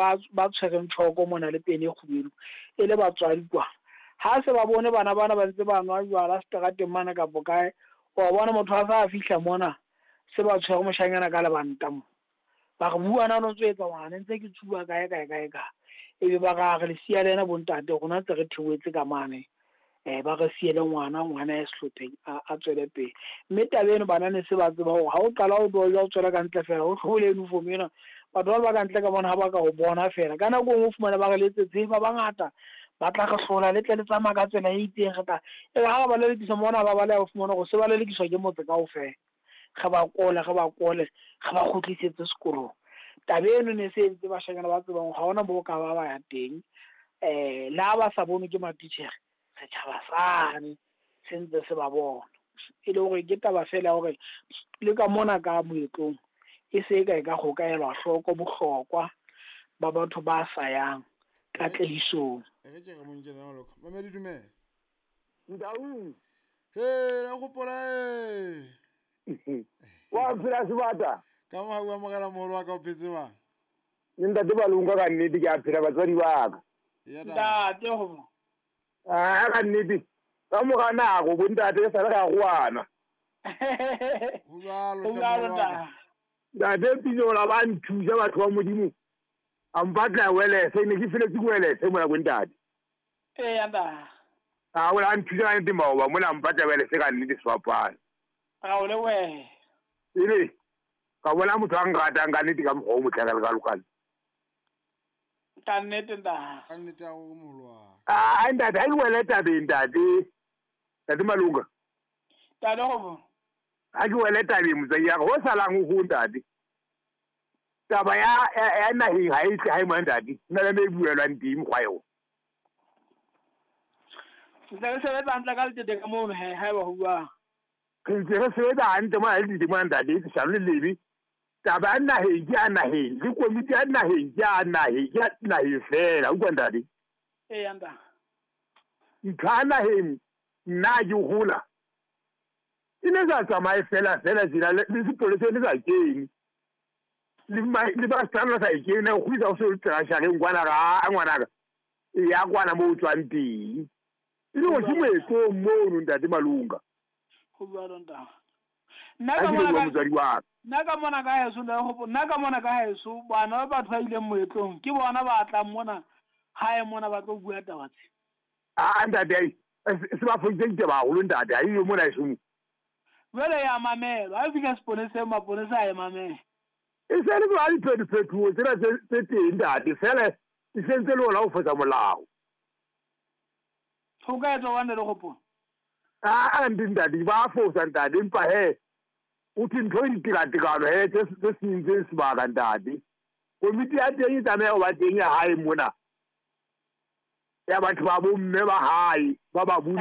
ba ba tshwereng tjhoko mona le pene e kgubedu e le batswadi kwa. Ha se ba bone bana bana ba ntse ba nwa jwala seterateng mane kapo kae, wa bona motho a sa fihla mona se ba tshwere moshanyana ka lebanta mo. Ba re bua na no ntso etsa ngwana ntse ke tsuba kae kae kae kae. Ebe ba re re le siya le yena bontate rona ntse re theohetse ka mane. Ba re siele ngwana, ngwana ya sehlopheng a tswele pele. Mme taba eno bana ne se ba tseba hore ha o qala o doja o tswela ka ntle fela o hlobole uniform ena, batho ba ba ka ntle ka mona ha ba ka o bona fela. Ka nako e nngwe o fumane ba re letsetse ba bangata ba tla re hlola le tle le tsamaya ka tsela e itseng re tla e re ha ba lelekiswa mona ba baleha o fumana hore se ba lelekiswa ke motse kaofela. Re ba kole, re ba kole, re ba kgutlisetse sekolong. Taba eno ne se entse bashanyana ba tsebang hore ha hona moo ka ba ba ya teng. Le ha ba sa bonwe ke matitjhere, setjhaba sane se ntse se ba bona. E le hore ke taba feela ya hore le ka mona ka moetlong e se e ka e ka go ka elwa hloko bohlokwa ba batho ba sa yang katlehisong. E re ke re mo nkele maloko. Mamedi dumela. Ntaung. He, ra gopola e. Wa phela sebata. Ka mo ha o amogela moholo wa ka o phetse bang. Le ntate Balonga ka nnete ke a phela batswadi ba ka. Ntate go. A ka nnete ka mora nako bo ntate re sale re aroana. Ho jwalo hle moholo wa ka. Ntate Pinola ba nthusa batho ba Modimo. A mpatla welese ne ke feletse ke welese mona bo ntate. Eya ntate. A o la nthusa ka nnete maoba mona a mpatla welese ka nnete sefapano. Ra o lebohe. Ele ka bona motho a nratang ka nnete ka mokgwa o motle ka lekalokalo. Ka nnete ntate. Ka nnete ya gore moholo wa ka. A ntate ha ke wele tabeng ntate. Ntate Malunga. Ntate go. Ha ke wele tabeng motswadi ya ka ho salang ho ho ntate. Taba ya ya naheng ha e tle ha e mona ntate. Nna le me e buelwang teng mokgwa eo. Ntse re sebetsa hantle ka letete ka mono he haeba ho buang. Re ntse re sebetsa hantle mona le letete mona ntate leshano le lebe. Taba ya naheng ke ya naheng le komiti ya naheng ke ya naheng ke ya naheng fela utlwa ntate. Eya ntate. Ntho ya naheng nna ke hola e ne sa tsamaye fela fela tjena le sepolesa ne sa kene. Le le ba sa sa e kene go kgwisa go se tsela kwana ga ngwanaka. E ya kwana mo o tswang teng. E le gore ke moetlong mono ntate Malunga. Go jwalo ntate. Nna ka mona ka motswadi wa ka. Nna ka mona ka heso le go nna ka mona ka heso bana ba batho ba ileng moetlong ke bona ba tlang mona hae mona ba tlo bua taba tse. A ntate ai se ba foditse ditaba haholo ntate ha iyo mona heso. Jwale ya mamelwa ha e fihla seponeseng maponesa a e mamela. E se le ba diphetophetoho tsena tse teng ntate fela e sentse le ona ho fosa molao. Ho ka etswa wane le gopola. A ndi ntate ba fosa ntate empa he o thwe ntho e ditekatekano he tse sentseng sebaka ntate. Komiti ya teng e tlameha ho ba teng ya hae mona. Ya batho ba bomme ba hae ba ba bolli.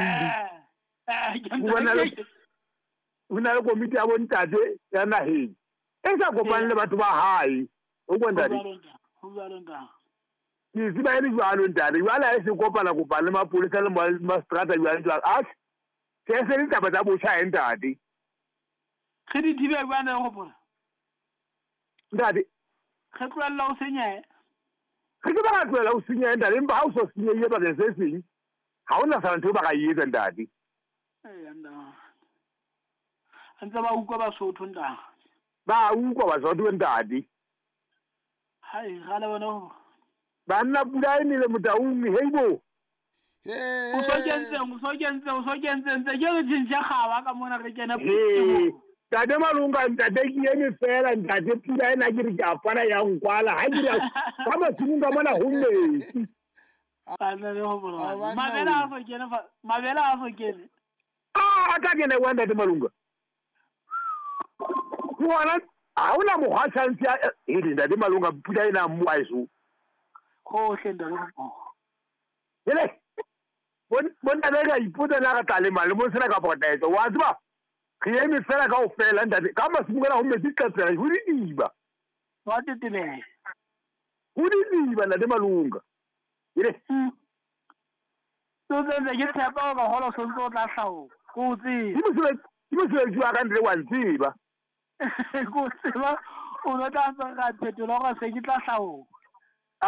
Ho na le komiti ya bontate ya naheng e sa kopane le batho ba hae. O kwa ntate. Ho jwalo ntate. Ke tseba e le jwalo ntate. Jwale ha e se kopana kopana le mapolesa le mastrata jwale jwalo. A se se le taba tsa botjha he ntate. Re di thibe jwang le gopola? Ntate. Re tlohella ho senyeha. Re ke ba ka tlohella ho senyeha ntate empa ha o so senyehile bakeng se seng ha hona sana ntho ba ka e etsa ntate. Eya ntate. Ntse ba utlwa Basotho ntate. Ba utlwa Basotho ntate. Hai ga le bona ho. Banna pula e nele Motaung heibo. O so kentseng, o so kentseng, o so kentseng ntse ke re tjhentjhe kgaba ka mona re kene. Ntate Malunga ntate ke eme fela ntate pula ena ke re ke a pana ya nkwala ha ke re ka masimong ka mona ho metsi. Banna le ho bona. Mabele a so kene fa, mabele a so kene. A ka kene wa ntate Malunga. Ngwana ha hona mokgwa chance ya e ntate Malunga pula ena mo a eso. Hohle ntate. Hele. Bona ba ka ipotsa na re tla lema le mo sena ka potetse. Wa tseba re eme fela kaofela ntate ka masimong ana ho metsi qetsela ho didiba. Wa tetebela. Ho didiba ntate Malunga. Hele. So tse ke tshepa hore holo so ntse o tla hlaola. Ko tseba. Ke mosebetsi wa ka ntle wa ntseba. Ko tseba o no tla ntse ra phetola hore se ke tla hlaola.